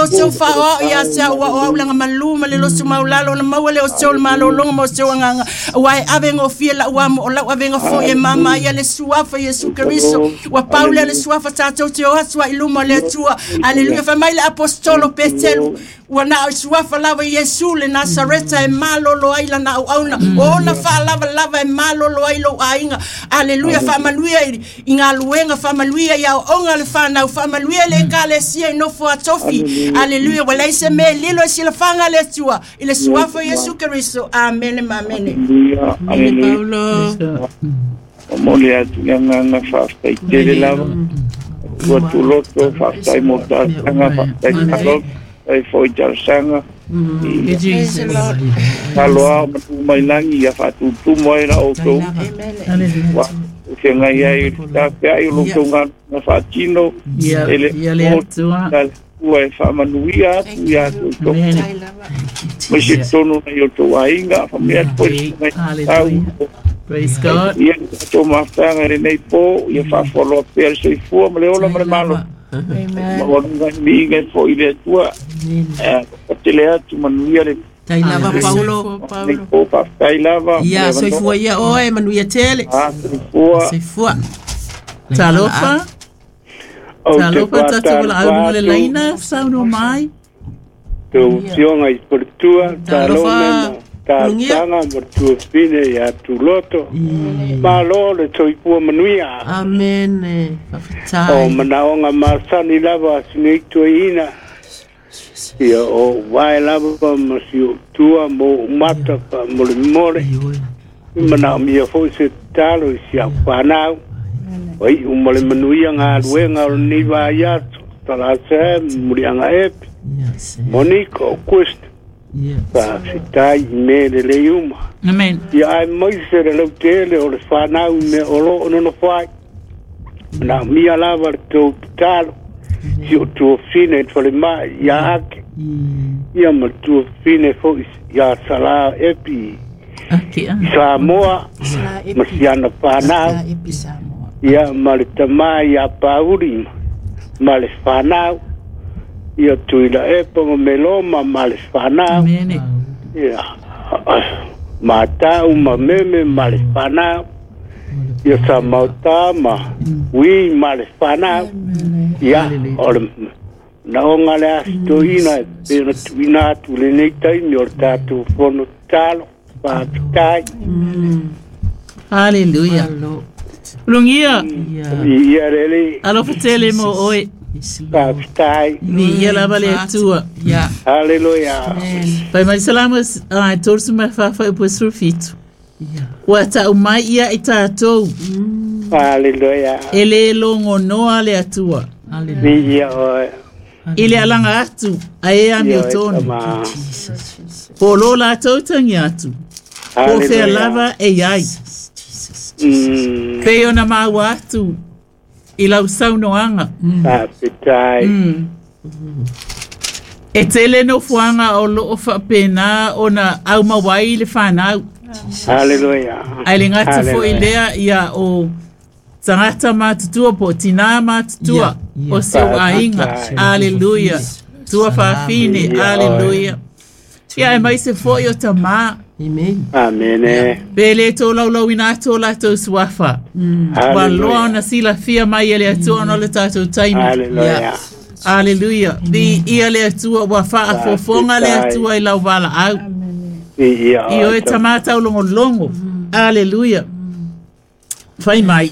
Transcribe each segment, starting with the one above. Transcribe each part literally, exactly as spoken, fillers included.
outou faaoao ia te au ua o aulaga malū ma le loto maulalo ona maua lea o se o le malologa ma o se o agaga ua e ave gofie lau amo o lau avega foi e māmā ia le suafa Iesu Keriso ua pau lea le suafa tatou te o atu ai i luma o le Atua. Aleluia. Fai mai le aposetolo Petelu ua na o suafa lava Iesu le Nasareta e malolo ai lana auauna o ona faalavalava e malolo ai lou aiga. Aleluia. Faamanuia i i galuega, faamanuia i aoaoga a le fanau, faamanuia i le ekalesia i nofo a tofi. Aleluia. Ua leai se mea e lilo i silafaga a le Atua i le suafa o Iesu Keriso. Amene ma amene. Aleluia, Amene aleluia. Paulo. Momoli atu le agaga faafetai tele lava. Ua tuloto faafetai mo talosaga, faafetai talo, faafetai foi talosaga. Mm. Ia Praise the Lord. talo ao ma tu mai lagi ia faatutumu ai la outou. Amen. Ua feagai ai i le tafeai o lo outou galuega faatino Ia, e le ia le o Atua. le Atua e faamanuia atu ia te outou. Amen. Mai se totonu nai o outou aiga, faamanuia atu foi le susuga i tau. Praise God. Ia tatou mafutaga i lenei po, ia faafualoa pea le soifua ma le ola ma le malo. Amen. Maualuga i miiga e foi i le Atua. Eh, patele atu manuia le Tai lava Paulo. Soifua lenei Paulo. po, faafetai lava. Ia soifua ia oe manuia tele. Ah, soifua. Soifua. Talofa. Ou te Talofa tatou wala au faatalofa le atu laina sauno mai. tou afioga i Paletua, Talofa. talo me ma talosaga ma tuafine ia Tuloto. Malo le soifua manuia. Amen. O Faafetai. manaoga masani lava a sinei tuaiina. Ia o vae lava ma si ou tua mo ou mata faamolemole. Manaomia foi se tatalo i si au fanau. O iu ma le manuia galuega o lenei vaiaso. Talasa muliaga epi. Yes. Monica o Quest. Yes. Faafetai i mea lelei uma. Amen. Ia ae mai se le lautele o le fanau i mea o loo nonofo ai. Manaomia lava le tou tatalo. Si o tuafine i le falemai ia Ake. Ia ma le tuafine foi ia Salā Epi Ake a. i Samoa Sala ma epi. siana fanau. Sala epi Samoa. Ia ma le tamā ia Pauli ma le fanau. Ia Tuila Epa ma Meloma ma le fanau. Amen. Ia Matau ma Meme ma le fanau. Ia Samautā ma Ui ma le fanau. Ia o le naoga le asitoina e pei ona tuuina atu lenei taimi o le tatou fono tatalo. Faafetai. Hallelujah. Malo. Lungia. Ia. Ia le Alii. Alofa tele mo oe. Yes, Lord. Faafetai. Ni ia lava le Atua. Ia. Haleluia. Amen. Pai mai salama ai torsu mai fafa upo surfitu. Ia. Ua tau mai ia i tātou. Haleluia. E le longo noa le Atua. Hallelujah. Ia oe. I le alanga atu, a e a Ia mio oe tonu. tama. Jesus. Po lo la tau tangi atu. Po fea Haleluia. lava e iai. Jesus. Mm. Pe ona maua atu i lau saunoaga. Faafetai. Mm. E tele no fuanga o loo faapena ona au mawai le whanau. Haleluia. Ai le ngata foi Haleluia. lea ia o tangata matutua po tina matutua Ia, ia. o seu aiga. Faafetai. Aleluia. Tua faafine. Ia, oe. Aleluia. Ia e mai se foi o tamā. Amen. Amene. Pe le tō laulauina atu o latou suafa. Ua loa ona silafia mai e le Atua ona o le tatou taimi. Haleluia. Aleluia. Bi ia le Atua ua faafofoga le Atua i lau valaau. Ia I oe oe tama. tamā taulogologo. Aleluia. Fai mai.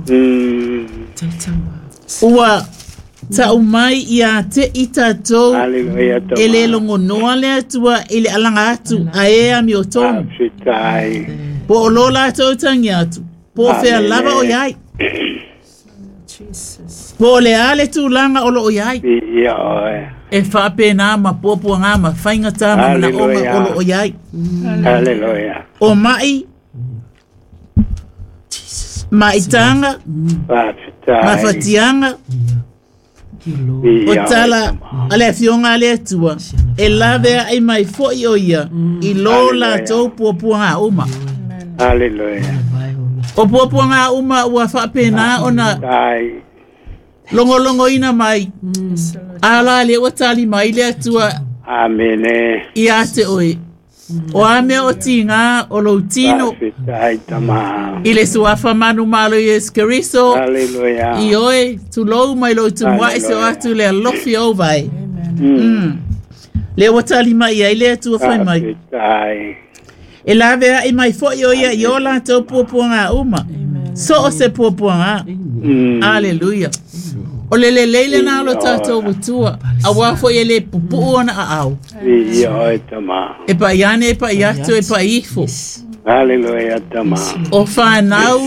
Mm. Taitama. Ua tau mai ia te i tatou Haleluia tama. e le logonoa le Atua i le alaga atu a e ami o tonu. Faafetai. Po o lo latou tangi atu. Po o fea Amene. lava o iai. Jesus. Po o le a le tulaga o loo iai. Ia oe. E faapena ma puapuaga ma faigatā ma manaoga Hallelujah. o loo iai. Haleluia. O mai maitaga Faafetai. mafatiaga Thank you, Lord. o Ia oe tala tama. a le afioga a le Atua e laveaʻi mai foʻi o ia i lō Hallelujah. latou puapuaga uma. Haleluia. O puapuaga uma ua faapena ona Faafetai. Logologoina mai ala le ua tali mai le Atua Amene. Ia te oe o a mea o tiga o lou tino Faafetai tama. I le suafa manumalo Iesu Keriso. Hallelujah. I oe tulou mai lou tumua'i se o atu le alofi ou vai. Mm. Le ua tali mai ai le Atua fai mai Faafetai. E lavea'i mai fo'i o ia i o latou puapuaga uma so o se puapuaga. Mm. Aleluia. O le lelei lenā o lo tatou atua auā fo'i e lē pupu'u ona aao. Viia oe tama. E pa'iane e pa'i atu e pa'i ifo. Hallelujah tama. O whānau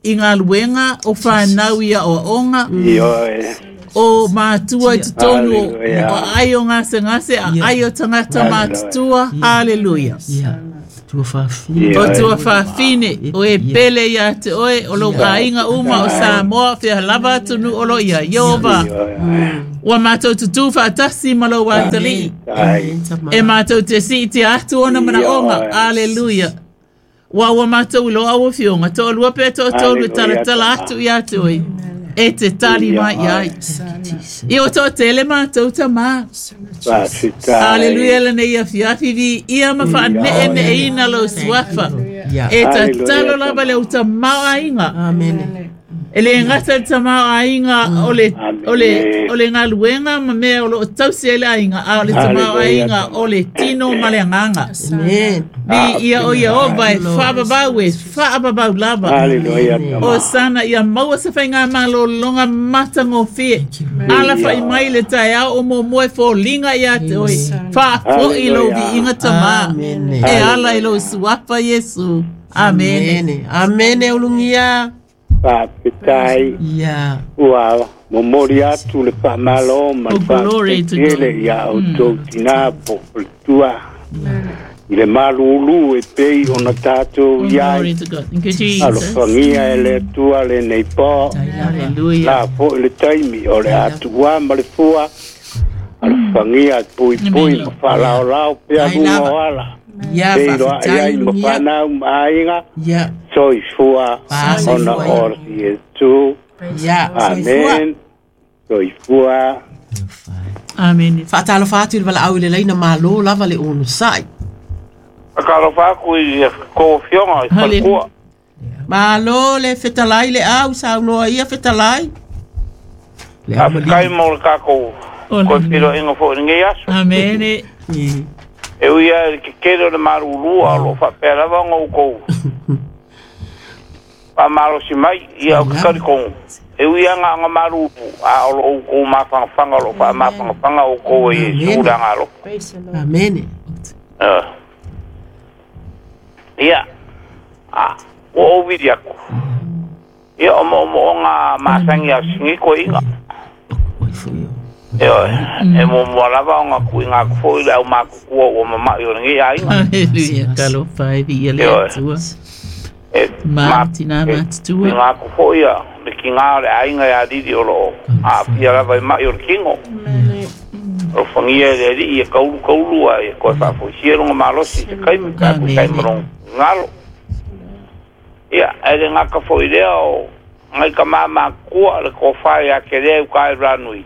i ngā luenga, o whānau i aoaoga, Ioe. o mātua i totonu o Hallelujah. o ai o ngase ngase, a ai o tangata Hallelujah. mātutua. Hallelujah. Ia. Tua faafine. O Ioe. tua whawhine, o e pele ia te oe, o lo kāinga uma o Samoa, whia lava atunu o lo ia, Iova. Ioe. Ua mātou tutu whaatasi ma lo wātali. Ai. E mātou te si te atu ona mana onga. Ioe. Hallelujah. Wa ua mātou i lo aua fionga. Toa lua pea toa tolu Hallelujah, taratala tama. atu i atu oi. E te tali mai i ai. I o toa tele mātou tamā. Faafetai. Hallelujah le nei afiafi vi ia ma whaane ne e ina lo suafa. Ia. E Hallelujah, tatalo lava tama. le uta mao ainga. Amene. E le ngata le tamao ainga o le, o le, Amen. o le ngaluenga ma mea o lo o tausi ele ainga. A o le tamao Hallelujah, ainga tama. o le tino ma le anganga. Amen. Vi ia o ia ova e whaababau e whaababau lava. Hallelujah O tama. sana ia maua se whainga malo longa matangofie. Ala whai mai le tai au o mo moe fo linga ia te oi. Wha fo i lo vi inga tama. Amene. E ala i lo suapa Yesu. Amen. Amene. Amene ulugia. Faafetai. Ia. Ua momoli atu le faamalo ma le Oh, glory to God. faatetele ia outou tinā po o le tua i le malūlū e pei ona tatou Oh, i ai glory to God. Thank you, Jesus. alofagia e le Atua lenei pō Hallelujah. la fo'i le taimi o le atuā ma le fua alofagia puipui ma faalaolao pea Ai luga lava. o ala Ia pei loa'i faafetai ai ma ulugia. fanau ma aiga Ia. soifua Soifua. ona o Iesu. Ia. Soifua. Amen. Soifua. Amen. Faatalofa atu i le valaau i le laina malo lava le ono sa'i. Akalofa aku i ko fionga i Hallelujah. falekua. Malo le fetalai le au saunoa ia fetalai. Le au Faafetai mo le kākou Oh, koe pilo inga fo i ngei aso. Amen. malii. E uia i ke kere o le marulua o lo whapea lava ngau kou. Wha malosi mai ia o ke kari kongu. E uia ngā ngā marulu a o lo o kou mawhangawhanga o lo wha mawhangawhanga o kou e Amen. Yesu le anga Amene. Eh. Ia. A, o o viri aku. Ia o mo mo ngā masangi a singi ko inga. Oi foi o. E oe, e mo mo lava o ngā kui ngā kufo i le au mākukua o mamai o ngi a inga. Hallelujah. Talofa e vi ia le Ioe. atua. E Ma tina e, matutua. Kui ngā kufo ia, le ki ngā o le ainga ia riri o lo a pia lava i mai o le kingo. O whangia e le ri i e kaulu kaulu a e koe whaafoisia runga malosi i te kaimi, ka ku Amen. kaimi rong ngalo. Ia, e le ngaka fo i lea o ngai ka māmā kua le ko whai a ke lea uka e ranui.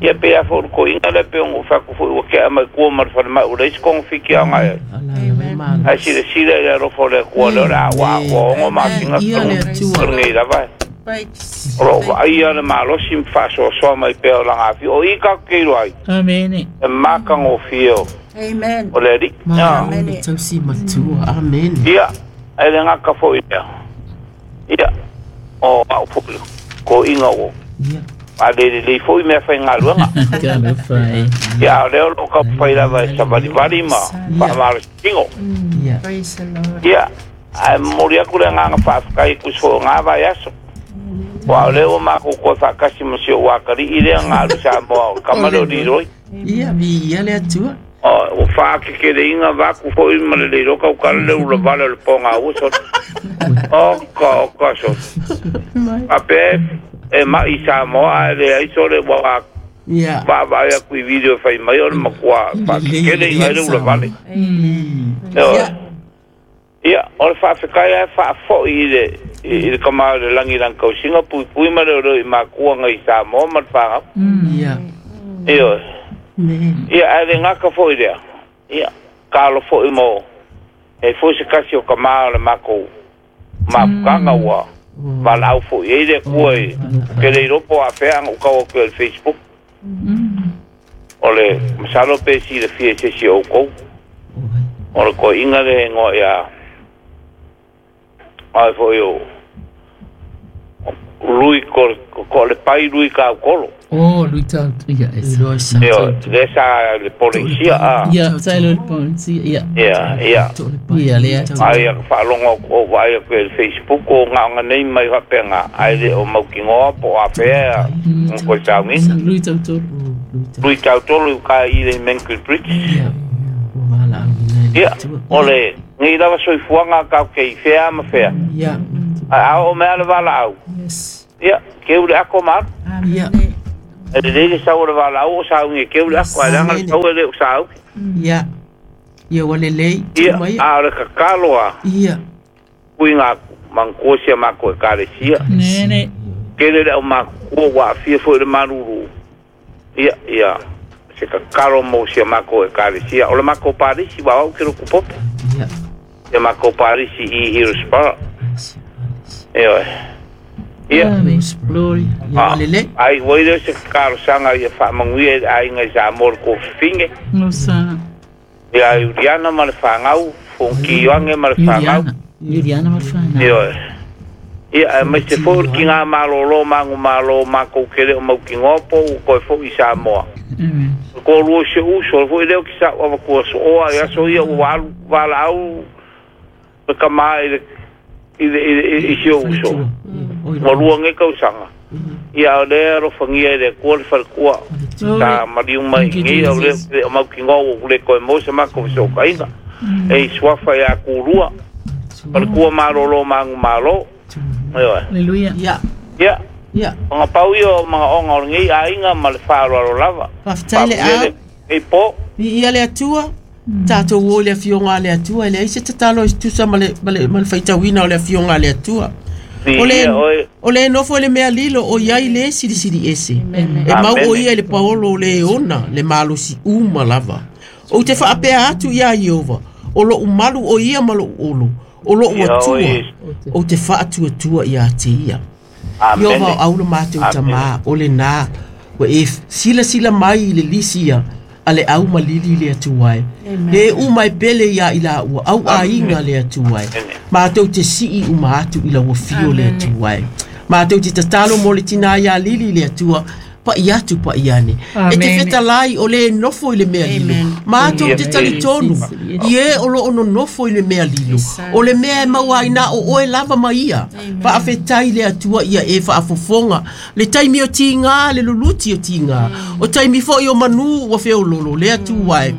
Ia pe a fo ko inga le pe ongo whaku fo ua kea mai kua mar whare mai ura isi kongo fiki a ngai. Ala le malo. Ai sile sile le rofo le kua le ora wa wa ongo mātinga Ia le Atua. ngai lava. O lo wa ia le malosi mwhaso soa mai pea o langa afi. O i ka keiro ai. Amen. E maka ngō Amen. o le ri. Malo le tausi matua. Amene. Ia, e le ngaka fo i lea. Ia, o au fo ko inga o. Ia. A le le le fo i mea whai ngā luanga. Talofa e. Ia, o leo lo ka whai lava e savari vari ma whamaro tingo. Ia. Praise the Lord. Ia, a mori aku le nganga whaafkai kuso ngā vai aso. Wa o leo mako koe whakasi ma si o wakari i lea ngā alu sa moa o kamaro riroi. Ia vi ia le Atua. O, o whaake ke le inga waku fo i ma le leiro kau kara le ula vale o le ponga ua so. O ka, o ka so. A pe e mai sa moa e le aiso le wa Ia. wa wa ia kui video whai mai o le makua whaake ke le inga le ula vale. Ia. Ia, o le whaafekai e whaafo i le i le kama o le langi lang kausinga pui pui ma le o i makua ngai sa mo ma le whangau. Ia. Iyo. Ia, a le ngaka fo i lea. Ia, kalo fo i mo. E fo se kasi o kama o le mako mafukanga ua. Walau fo i le kua i. Ke le iropo a whea anga ukawa kua le Facebook. O le masalo pe si le fia se si o kou. O le ko inga le ngoa ia. Ai fo i o. Lui ko ko le pai lui ka kolo. Oh, lui tau ia es. Io, le sa le polizia a. Ia, sa le polizia, ia. Ia, ia. Ia le. Ai fa longo o vai ko Facebook o nga nei mai ha penga. Ai le o maukingoa po a fea ko sa ngi. Lui tau tolu. Lui tau tolu ka i le Menkul Bridge. Ia. Ia, ole ngi lava soifuaga ka ke fea ma fea. Ia. A o mea le vala au. Yes. Ia, ke ule ako ma. Ia. E le le sa o le vala au o sa ngi ke ule ako ai langa tau le o sa au. Ia. Ia wale lei. Ia, a o le kakalo a. Ia. Kuinga mangkosia mako e kalesia. Ne ne. Ke le o mako wa fia fo le maruru. Ia, ia. Se kakalo mo sia mako e kalesia. O le mako parisi wa au ke roku popo. Ia. Ia mako parisi i Hillsborough. Ia. Ia. Glory. Ia wale lei. Ai, wai le se kakalo sanga ia whaamanguia e ainga i sa mor ko finge. No sa. Ia, Uriana ma le whangau, Fonki Ioange ma le whangau. Uriana ma le whangau. Ia. Ia, mai se fo ki ngā malolo, mangu malo, mako kere o mau ki ngopo, u koe fo i Samoa. Amen. Ko lua se uso, fo i leo ki sa ua kua so oa, ia so ia ua alu, wala au, me kama i le i le i si o uso. Ua lua nge kausanga. Ia o lea rofangia i le kua le whalekua. Ta mariu mai ngi, o le o mau ki ngō, o le koe mose mako so kainga. E suafa ia kurua. Whalekua malolo mangu malo. Hallelujah. Ia. Ia. Ia. O ngā pau ia o mga onga o ngi a inga ma le whaaloalo lava. Whawhitai le au. E po. Ia le atua. Tātou o le afionga le atua. E le aise tatalo i tusa ma le, ma le, ma le whaitawina o le afionga le atua. O le, o le nofo le mea lilo o iai le siri siri ese. E mau o ia le paolo le ona le malosi uma lava. O te whaapea atu ia Iova. O lo umalu o ia ma lo olo. O lo ua o te whaatua tua ia te ia. Iova o aula mātou tamā o le nā. Ua e sila sila mai i le lisi ia a le au malili le atuai. E umai pele ia i la ua au ainga le atuai. Mātou te sii uma atu i la ua fio le atuai. Mātou te tatalo mo le tina ia lili le atua. Pa i atu pa i ane. E te fetalai o le nofo i le mea lilo. Mātou te talitonu. I e o lo ono nofo i le mea lilo. O le mea e maua ina o oe lava ma ia. Faafetai le atua ia e faafofoga. Le taimi o tīngā, le luluti o tīngā. O taimi foi o manu ua feololo le atua e.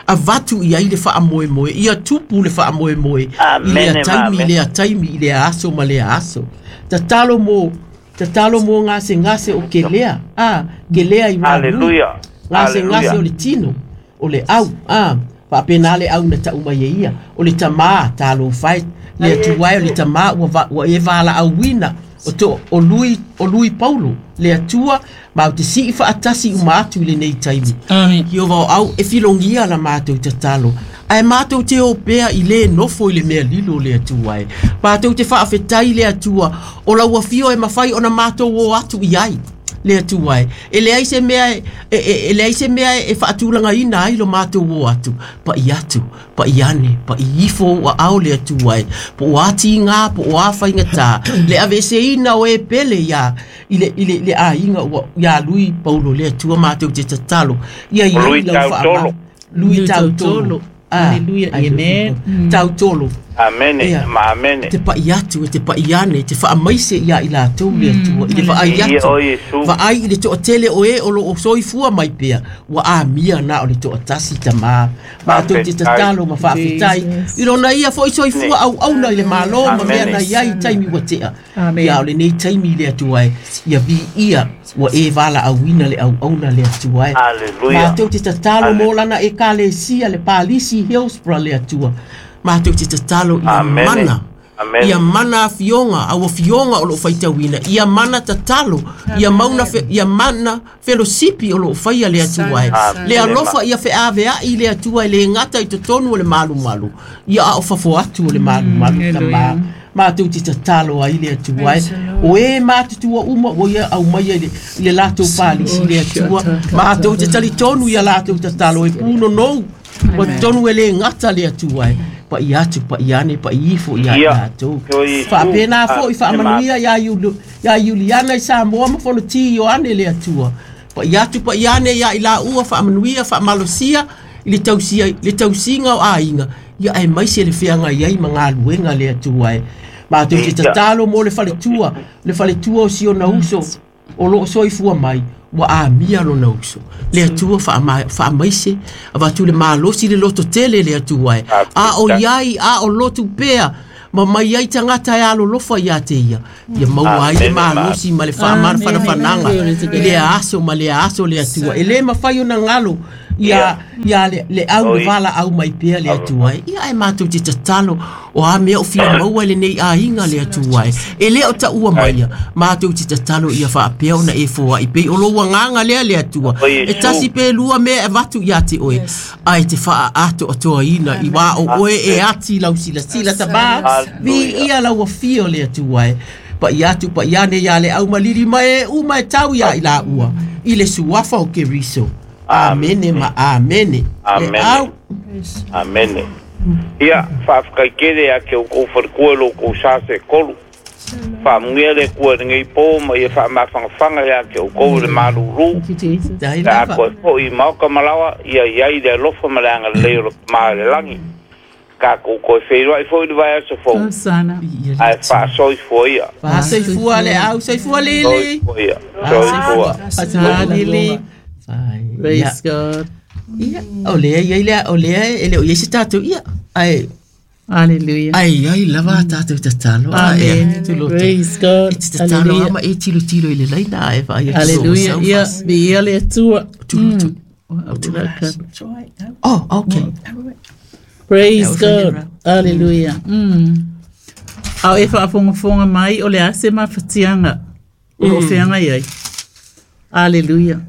Avatu ia i le faamoemoe. Ia tupu le faamoemoe. I lea taimi, i lea taimi, i lea aso ma lea aso. Tatalo mo... Tatalo mo ngase ngase o ke lea. Ah, ke lea i manu. Hallelujah. Ngase ngase o le tino. O le au. Ah, faapena le au na tauma ia ia. O le tamā, talo fai. Le atuai o le tamā ua, ua e vala auina. O to, o lui, o lui Paulo. Le atua, ma o te sii faatasi uma atu i le nei taimi. Amen. Iova o au e filongia la mātou tatalo. Ae mātou te opea i le nofo i le mea lilo le atua e. Mātou te faafetai le atua o lau afio e mawhai ona mātou o atu i ai le atua e. E leai se mea e, e, e leai se mea e faatulanga ina ai lo mātou o atu. Pa i atu, pa i ane, pa i ifo o au le atua e. Po o ati ngā, po o a whaingata. Le avese ina o e pele ia i le, i le, le a inga ua, ia lui Paulo le atua mātou te tatalo. Ia i Lui lau tautolo. Lui tautolo. Ah, Hallelujah, amen. Tautolo. Amene, ma amene. Te pai atu, te pai ane, te whaamaise ia i la tau le atua, i le whaai atu. Whaai i le toa tele o e o lo o soifua mai pea, ua a mia nā o le toa tasi tamā. Mātou te tatalo ma whaafetai. I rona ia foi soifua au auna i le malo ma mea na ia i taimi ua tea. Ia o le nei taimi le atua e, ia vi ia ua e wala auina le au auna le atua e. Mātou te tatalo mō lana e kalesia le palisi Hillsborough le atua. Mātou te tatalo ia mana. Ia mana afioga au afioga o loo faitauina ia mana tatalo ia mauna fe, ia mana felosipi o loo faia le Atua e le alofa ia feaveai le Atua e le gata i totonu o le malumalu ia ao fafo atu o le malumalu tamā matou te tatalo ai le Atua e o e matutua uma o ia au mai le le latou palisi le Atua matou te talitonu ia latou tatalo e punonou o tonu e le gata le Atua e pa i atu pa i ane pa i ifo ia latou faapena fo'i faamanuia ia ia Iuliana i Samoa ma Fonoti Ioane le Atua pa i atu pa i ane ia i laua faamanuia faamalosia i le tausia le tausiga o aiga ia e mai se le feaga i ai ma galuega le Atua e matou te tatalo mo le faletua le faletua o si ona uso o loo soifua mai ua amia lona uso le Atua faamaise avatu le malosi le loto tele le Atua e a o iai a o lotu pea ma mai ai tagata e alolofa ia te ia ia maua ai le malosi ma le faamanafanafanaga i le aso ma le aso le Atua e lē mafai ona galo ia ia le le au le vala au mai pea le Atua e ia e matou te tatalo o a mea o fia maua lenei aiga le Atua e e lē o taua maia matou te tatalo ia faapea ona e foaʻi pei o lou agaga lea le Atua e tasi pe lua mea e avatu ia te oe ae te faaatoatoaina i wā o oe e ati lau silasila tamā vi ia lau afio le Atua e pa i atu pa i ane ia le au malili ma e uma e tau ia i la ua i le suafa o Keriso. Amene ma amene. Amene. Amene. Ia faafetai ia ke o kou falekua lo kou sa se kolu. Faamuia le kua lenei po ma ia faamafagafanga ia ke o kou le malulu. La koe fo'i maoka malawa ia iai le alofa ma le agalelei o le ma le lagi. Ka kou koe feiloai fo'i le vaiaso fou. Ae faasoifua ia. Faasoifua le au, soifua lili. Soifua ia. Soifua. Lili. Praise God. Ia, o lea ia lea o lea e le o ia se tatou ia. Ai. Hallelujah. Ai ai lava tatou tatalo. Amen. Praise God. Tatalo ama e tilo tilo i le laina ai fa ia. Hallelujah. Ia, bi ia le Atua. Oh, okay. Praise God. Hallelujah. Mm. Au e faafogafoga mai o le ase mafatiaga o loo feagai ai. Hallelujah.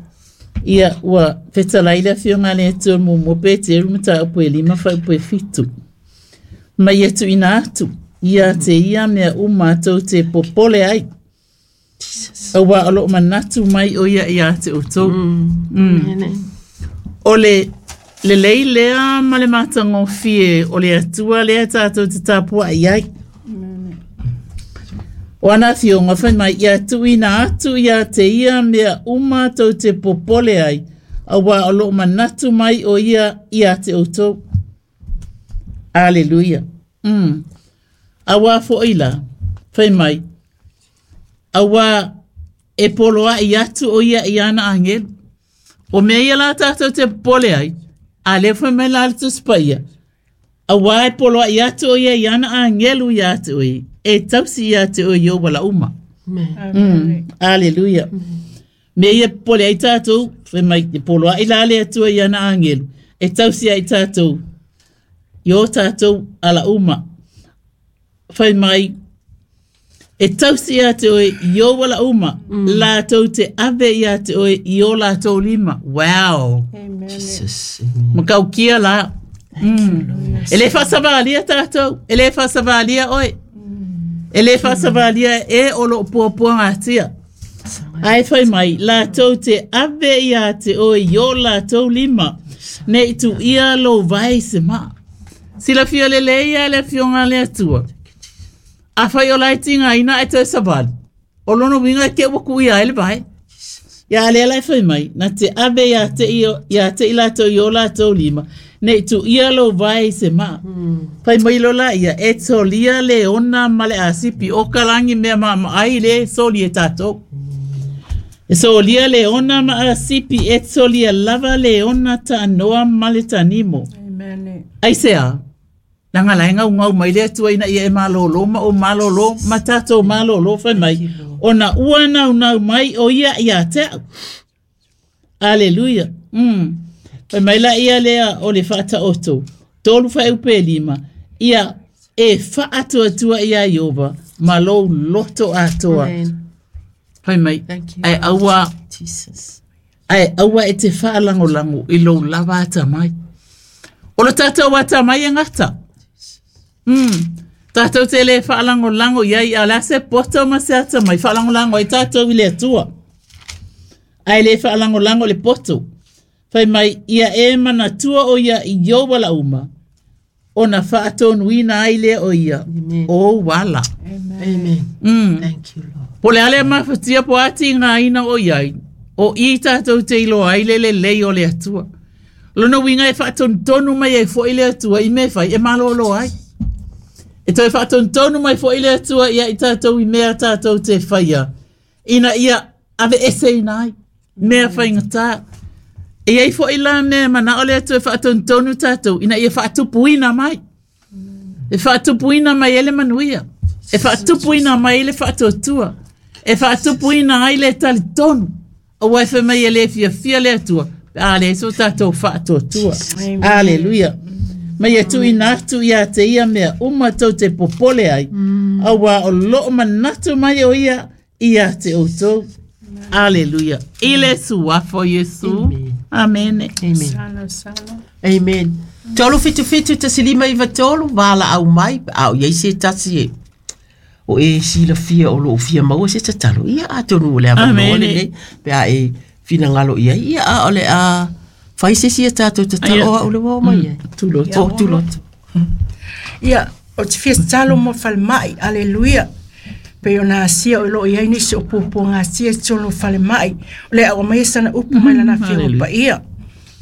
Ia ua fetalai le afioga le Atua muamua Peteru mataupu e lima faaupu e fitu. Mai e tuuina atu ia te ia mea uma tou te popole ai. Auā o loo manatu mai o ia ia te outou. Mm. O le lelei lea ma le matagofie o le Atua lea tatou te tapuaʻi ai. O ana afioga fai mai ia tuuina atu ia te ia mea uma tou te popole ai, auā o loo manatu mai o ia ia te outou. Aleluia. Mm. Auā foʻi la, fai mai, auā e poloaʻi atu o ia i ana agelu. O mea ia la tatou te popole ai, a lea fai mai la le Tusi Paia, auā e poloaʻi atu o ia i ana agelu ia te oe, e tausi ia te oe i ou wala uma. Mm. Aleluia. Me ia popole ai tatou, fai mai, e poloaʻi la le Atua i ana agelu, e tausi ai tatou, i o tatou ala uma. Fai mai, e tausi ia te oe i o wala uma, mm. latou te ave ia te oe i o latou lima. Wow. Amen. Jesus. Makaukia la. Mm. E le faasavalia tatou, e le faasavalia oe. E le faasavalia e o loo puapuagatia. Ae fai mai, latou te ave ia te oe i o latou lima, nei tu ia lou vai se maa. Silafia lelei ia le afioga le Atua. A fai o lai tigaina e toe savali. O lona uiga e ke ua kuʻia ai le vae. Ia lea la e fai mai, na te ave ia te ia te i latou i o latou lima, nei tu ia lou vae i se maa. Fai mai lo la ia, e solia le ona ma le asipi o kalagi mea maamaai le soli e tatou. E solia le ona ma asipi, e solia lava le ona taanoa ma le tanimo. Amen. Ai se a? Langa lai ngau ngau mai le Atua ina ia e malolo ma o malolo ma tatou malolo fai mai. Ona ua nau nau mai o ia ia te au. Aleluia. Mm. Fai mai la ia lea o le faataoto. Tolu faaupu e lima. Ia e E whaatuatua ia Iowa, ma lou loto atoa. Fai mai, ai aua, Jesus. Ai aua e te whaalangolango i lou lava ata mai. O lo tātou ata mai e ngata. Mm. Tātou te le whaalangolango iai a la se poto ma se ata mai. Whaalangolango ai tātou i le atua. Ai le whaalangolango le poto. Fai mai, ia e manatua o ia i Iowa la uma. O na whaatonuina ai le o ia. O wala. Amen. Amen. Mm. Thank you, Lord. Po le ale mawhatia po ati ngā ina o iai. O i tātou te ilo ai le le lei o le atua. Lona winga e whaatontonu mai e fo i le atua i me whai e malolo ai. E toi whaatontonu mai fo i le atua ia i tātou i mea tātou te whaia. Ina ia ave ese ina ai. Mea whaingata. E ei fo i la mea mana o le atua e whaatontonu tātou. Ina ia whaatupuina mai. E whaatupuina mai ele manuia. E whaatupuina mai ele whaatuatua. E whaatupuina ai le talitonu. O e wha mai ele fia fia le atua. A le so tātou whaatuatua. Aleluia. Mai e tui nātu ia te ia mea uma tau te popole ai. Aua o loo manatu mai o ia ia te outou. Aleluia. Ile suafo Yesu. Amen. Amen. Amen. Tolu fitu fitu tasilima iwa tolu wala au mai au iai se tasi e. O e sila fia o loo fia maua se tatalo. Ia a tonu o le avanoa le nei. Pe a e finangalo ia. Ia a o le a whai se sia tātou tatalo o a ule wao mai e. Tuloto. O tuloto. Ia, o te fia tatalo mo whalemai. Aleluia. Pe o nā sia o lo iai nisi o pōpō ngā sia tolo whalemai. O le au mai sana upu mai lana fia upa ia.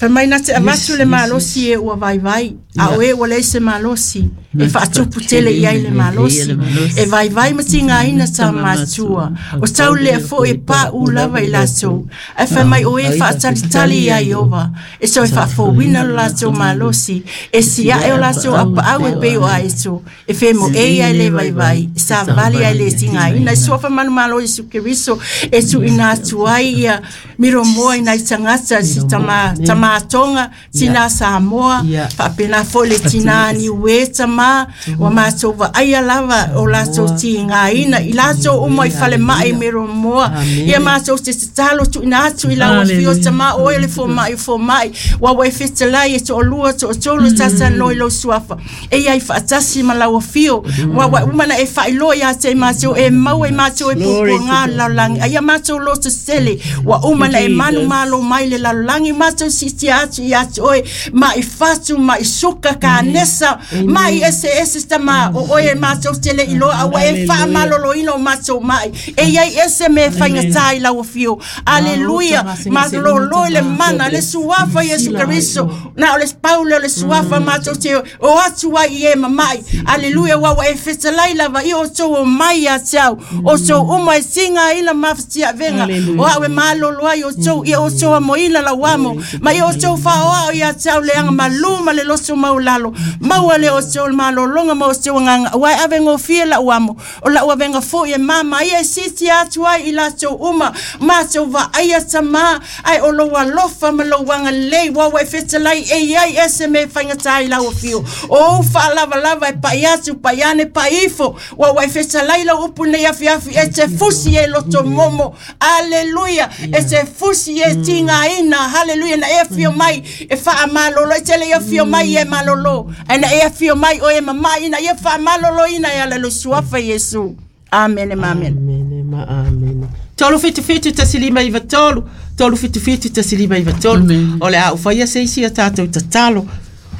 Whai mai nā te avatu le malosi e ua vai vai. A oe ua lei se malosi. E whaatupu tele iai le malosi. E vai vai mati ngā ina tā mātua. O tau lea fo e pā u lava i lātou. E whai mai o e whaatalitali ia Iova. E so e whaafowina lo lātou malosi. E sia e o lātou apa au e peo a eto. E whemo e ia le vai vai. Sa vali ai le tinga ina. E sua whamanu malo Isu Keriso. E tu ina atu ai ia miro moa ina i tangata si tama, tama tonga, tina Samoa, whaapena fo le tina niue tama, wa mātou wa aia lava o lātou ti ngā ina, i lātou uma i whale mai miro moa, ia mātou te tatalo tu ina atu i lau whio tama, o ele fo mai fo mai, wa wai fetelai e to olua to otolo tata noi lo suafa, e ia i whaatasi ma lau whio, wa wa umana e whailoa ia te mātou, e mau e mātou e pupu ngā laulangi, aia mātou lo te sele, wa umana e manu malo mai le laulangi, mātou si te atu i atu oe, ma i whatu, ma i suka ka nesa, ma i ese ese tama, o oe mātou tele i loa, aua e wha malolo ino mātou mai, e iai ese me whaingatai lau whio, aleluia, ma lolo le mana, le suafa Yesu Keriso, na o le paule o le suafa mātou te, o atu ai i e mamai, aleluia, wawa e fetalai lava, i o tau o mai a te au, o tau uma e tinga ina mawhatia venga, o au e malolo ai o tau, i o tau amo ina lau amo, ma i o tau whaoa o ia te au leanga maluma le loso maulalo, maua le o tau malolonga ma o tau nganga, wai ave ngofie lau amo, o lau avenga fo i e mama, ia e siti atu ai i la tau uma, mātou wa aia tama, ai o lo alofa ma lo wanga lei, wawa e fetalai e iai ese me whaingatai lau whio, o wha lava lava e pai atu, pai ane, pai ifo, wawa e fetalai lau upu nei afi afi, e te fusi e loto momo, aleluia, e te fusi e tinga ina, haleluia, na e whio mai, e wha malolo, e tele e whio mai e malolo, e na e whio mai o e mamai, na e wha malolo ina e alelo suafa Yesu. Amen, amen. Amen, amen. Tolu fitu fitu tasilima iwa tolu, tolu fitu fitu tasilima iwa tolu. O le a uwhaia seisi a tātou tatalo.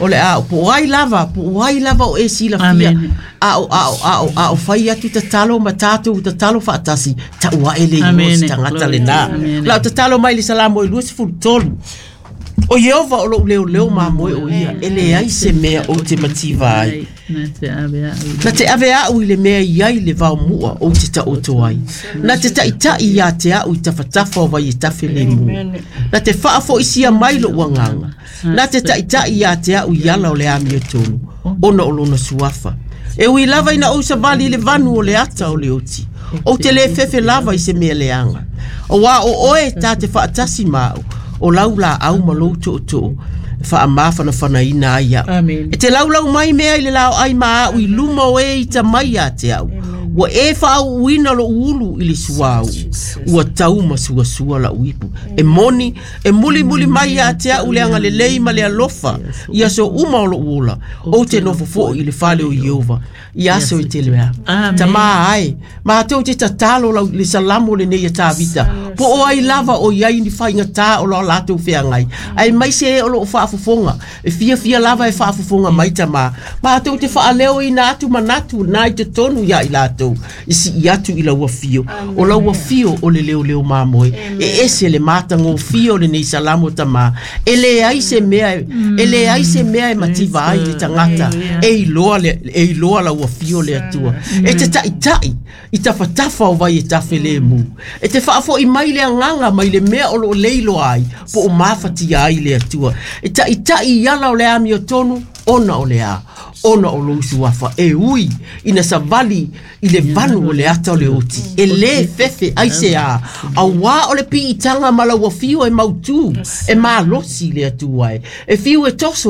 O le a po ai lava, po ai lava o e sila fia. A o a o a o a o whai atu tatalo ma tātou tatalo whaatasi. Ta ua ele i o tangata le nā. La tatalo mai le salamo i luasi fulu tolu. O Iova o lou leo leo mamoe o ia, e le ai se mea o te mativa ai. Na te ave au i le mea i ai le vao mua o te taoto ai. Na te taitai ia te au i tawhatafa o vai e tafe le mua. Na te whaafoisia mai lo uanganga. Na te taitai ia te au i ala o le amio tonu, ona o lona suafa. E ui lava ina ou savali le vanu o le ata o le oti. O te le fefe lava i se mea leanga. O wā o oe tā te whaatasi mau. O lau la au ma lou to'o to'o. Faamafanafanaina ai a'u. Amen. E te laulau mai mea i le lao'ai ma a'u i luma o e ita mai ia te a'u. Ua e faauuina lo'u ulu i le suauu. Ua tau ma suasua la'u ipu. E moni, e mulimuli mai ia te a'u le agalelei ma le alofa i aso uma o lo'u ola. Ou te nofo fo'i i le fale o Ieova i aso e tele ea. Amen. Tamā ae, matou te tatalo lau le salamo lenei a Tavita. Po o ai lava o iai ni faigata o lo latou feagai. Ae mai se e o loo faafofoga. E fiafia lava e faafofoga mai tamā. Matou te faaleoina atu manatu na i totonu ia i latou. I sii atu i lau afio. O lau afio o le leoleo mamoe. E ese le matagofie o lenei salamo tamā. E leai se mea e leai se mea e mativa ai le tagata. E iloa le e iloa lau afio le Atua. E te taʻitaʻi i tafatafa o vai e tafe lemu. E te faafoʻi mai le agaga mai le mea o loo leiloa ai po o mafatia ai le Atua. E taʻitaʻi i ala o le amiotonu ona o le a ona o lou suafa e ui ina savali i le vanu o le ata o le oti e lē fefe ai se a auā o le piitaga ma lau afio e mautū e malosi le Atua e e fiu e toso.